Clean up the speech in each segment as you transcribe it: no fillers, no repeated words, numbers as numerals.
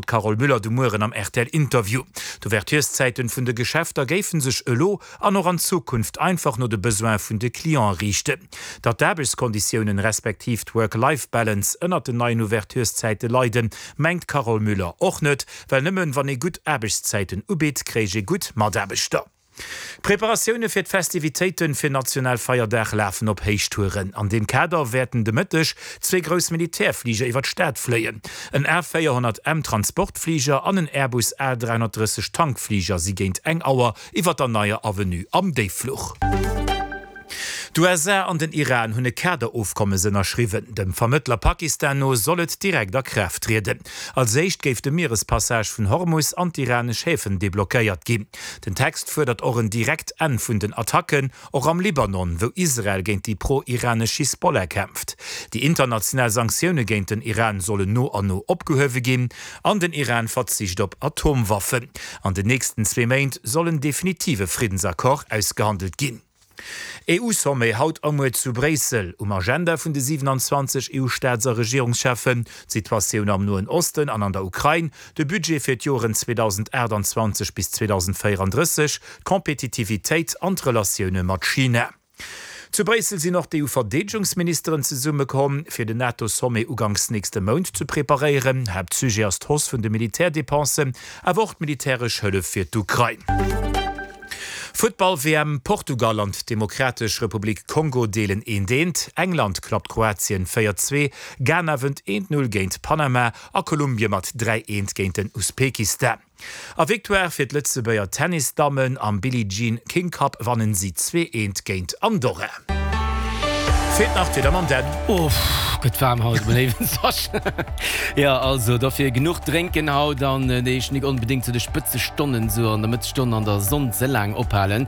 D'Carole Müller de Mueren am rtl Interview. D'Ouvertureszäiten vun de Geschäfter géifen sech elo an och an Zukunft einfach no de Besoine vun de Cliente riichten. Datt d'Aarbechtskonditiounen respektiv d'Work-Life-Balance ënnert den neien Ouvertureszäite leiden, mengt d'Carole Müller och net, well nëmmen wann ee gutt Aarbechtszäiten ubitt, kréich ee gutt Mataarbechter. D'Preparatioune fir d'Festivitéite fir Nationalfeierdag lafen op Héichtouren. An deem Kader wäerten de Mëtteg zwee grouss Militärfliger iwwer d'Stad fléien. En A 400 M Transportfliger an en Airbus A 330 Tankfliger si géint eng Auer iwwer der Neier Avenue am Déiffluch. D'USA an den Iran hunn e Kaderofkommes ënnerschriwwen. Dem Vermëttler Pakistan no soll et direkt a Kraaft trieden. Als éischt géif de Mierespassage vun Hormus an d'iranesch Häfen deblockéiert ginn. Den Text fuerdert och en direkt Enn vun den Attacken, och am Libanon, wou Israel géint déi pro-iranesch Hisbollah kämpft. Déi international Sanktioune géint den Iran sollen no an no opgehuewe ginn an den Iran verzicht op Atomwaffen. An den nächsten zwee Méint soll en definitive Friddensaccord ausgehandelt ginn. EU-Sommet haut a muer zu Bréissel. Um Agenda vun de 27 EU-Staats a Regierungscheffen, d'Situatioun am Noen Osten an an der Ukrain, de Budget fir d'Joren 2028 bis 2034, d'Kompetitivitéit an d'Relatioune mat China. Zu Bréissel sinn och d'EU-Verdeedegungsministeren zesummekomm, fir den NATO-Sommet uganks nächste Mount ze preparéieren. Haaptsujet ass d'Hausse vun de Militärdepensen, awer och d'militäresch Hëllef fir d'Ukrain. Futtball-WM, Portugal an d'Demokratesch Republik Kongo deelen eent eent, England klappt Kroatien 4, 2, Ghana wënnt eent 0 géint Panama a Kolumbie mat 3, 1 géint den Usbekistan. A Victoire fir d'Lëtzebuerger Tennisdammen, am Billie Jean King Cup wannen si 2, 1 géint Andorra. Feelt nach d'Wieder mam Dan. Uff, gëtt waarm haut, mein léiwen Sascha. Jo, also dofir genuch drénken haut an Iech nik onbedéngt zu de Spëtzestonnen, sou an der Mëttesstonn an der Sonn ze laang ophalen,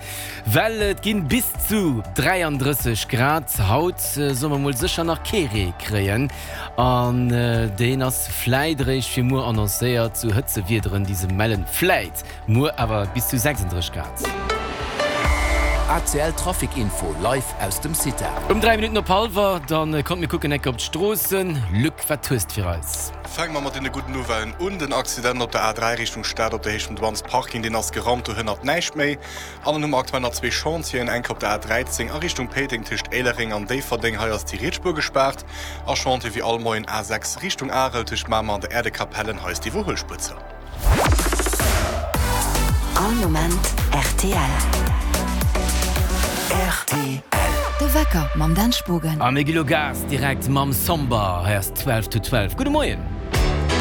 well et ginn bis zu 33 Grad. Haut solle mer mol sécher nach kee Ree kréien an deen ass vläit eréischt fir muer annoncéiert. Sou Hëtzewiederen, déi se mellen, vläit. Muer awer bis zu 36 Grad. ACL Trafic Info live aus dem CITA. Um 3 Minutten op hallwer, dann kommt mir kucken enke op d'Stroossen. Luc, wat hues de fir eis? Fänke mer mat deene gudden Nouvellen un. Den Accident op der A3 Richtung Stad op der Héicht vum Douanes Parking, deen ass geraumt, do hënnert näischt méi. An dann hu mer aktuell nach zwee Chantieren, enke op der A13 a Richtung Péiteng tëscht Éilereng an Déifferdeng, hei ass déi riets Spuer gespaart. A Chantier wéi all Moien A6 Richtung Arel tëscht Mamer an der Äerdekapellen, hei ass d'Iwwerhuelspuer zou. All Moment rtl. Rtl. De Wecker mam Dan Spogen. A mir gi lo Gas direkt mam Somber. Hei ass 12 to 12. Gudde Moien.